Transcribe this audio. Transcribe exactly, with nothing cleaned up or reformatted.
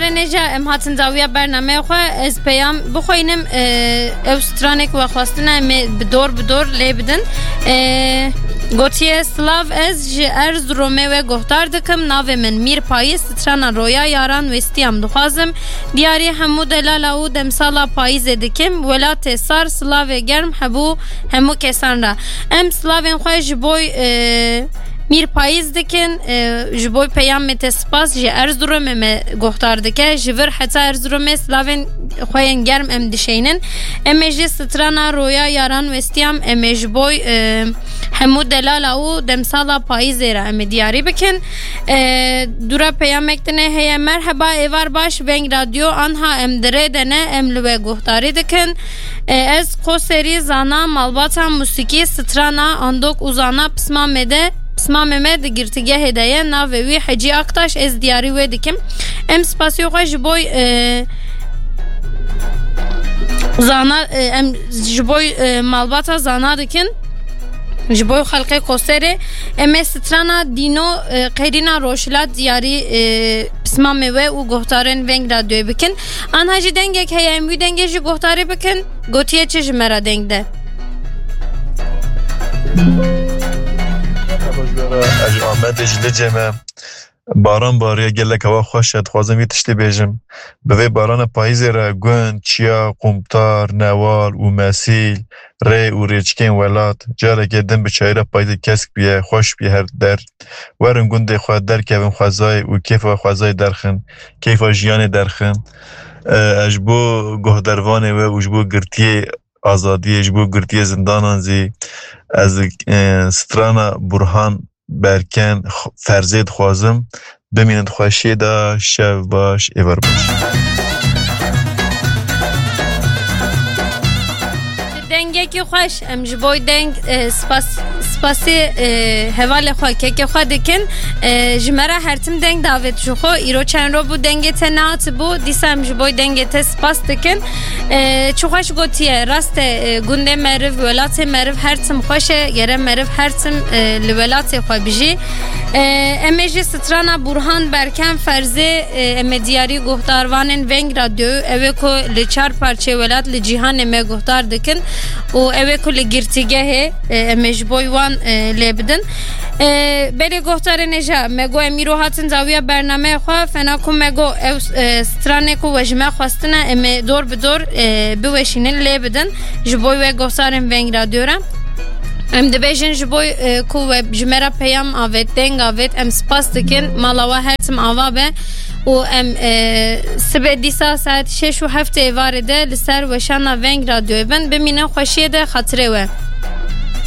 Nêja, em hatin dawiya bernameyê xwe, ez peyam bixweynim, e, ew stranek we xwestine, em ê bi dor bi dor lê bidin. E, gotiye, Silav, ez ji Erzurumê we guhdar dikim, navê min Mîr Payîz, strana Roya Yaran westiyam dixwazim. Diyarî hemû delala û demsala payîzê dikim, welatê sar, silavê germ hebû hemû kesan re. Em silavên xwe ji boy, e, Mîr Payîz dikin, e, ji bo peyamê te spas, ji Erzurumê me guhdar dike. Ji vir heta Erzurumê silavên xwe yên germ em dişeynin. Em ê jî strana Roya Yaran westiyam, em ê ji bo, e, hemû delala û demsala payîzê re em ê diyarî bikin. E, dûra peyamek din ê heye. Merheba, êvar baş, Veng Radyo, anha em di rê de ne, em li we guhdarî dikin. E, ez Qoserî zana, malbata musîkî, strana, andok û zana pismamê de, pismamê me di girtîgehê de ye, navê wî Hecî Aktaş, ez diyarî wê dikim. Em spasiyo xwe ji boy, e, zana, e, em ji boy, e, malbata zana dikin. Ji boy xelkê Qoserê, em ê strana Dîno, e, Qeyrîna Rojhilat diyarî, e, pismamê we û guhdarên Veng Radyoyê bikin. Anha jî dengek heye, em wî dengê jî guhdarî bikin. Gotiye çi ji me re deng de? Ez ji Amedê, ji Licê me. Baran bariye, gelek hewa xweş e. Dixwazim vî tiştê bêjim. Bi vê barana payîzê re gund, çiya, qumtar, newal û mesîl, rê û rêçikên welat, carekê din bi çayîra payîzê kesk bûye, xweş bûye her der. Werin gundê xwe derkevin xwezayê û kêfa xwezayê derxin, kêfa jiyanê derxin. E, ez ji bo guhdervanê we û ji bo girtiyê azadiyê, ji bo girtiyê zindanan zî ez, e, strana Burhan Berken, Ferzê dixwazim. Bimînin di xweşiyê de, şev baş, êvar baş. Dengekî xweş, em ji boy deng, e, spas, spasê, e, hevalê xwe, kekê xwe dikin. E, ji me re her tim deng davêt ji xwe. Îro çend ro bû dengê te nehatibû, dîsa em ji boy dengê te spas dikin. E, çi xweş gotiye, rast e, e, gundê meriv, welatê meriv her tim xweş e, gere meriv her tim, e, li welatê xwe bijî. E, em ê jî strana Burhan Berken Ferzê, e, em ê diyarî guhdarvanên Veng Radyoyê, ew ê ku li çar parçeyê welat li cîhanê me guhdar dikin û ew ê ku li girtîgehê, e, em ê ji boy wan, e, lê bidin. E, belê guhdarên hêja, me got em îro hatin dawiya bernameyê xwe, fena ku me got ew, e, stranê ku we ji me xwestine, em ê dor bi dor, e, biweşînin, lê bidin. Ji bo we guhdarên Veng Radyo re. Em dibêjin ji bo, e, ku we ji me re peyam avêt, deng avêt, em spas dikin. Mala we her tim ava be û em, e, sibê dîsa saet şeş û heft êvarê de li ser weşana Veng Radyoyê bin. Bimînin xweşiyê de, xatirê we.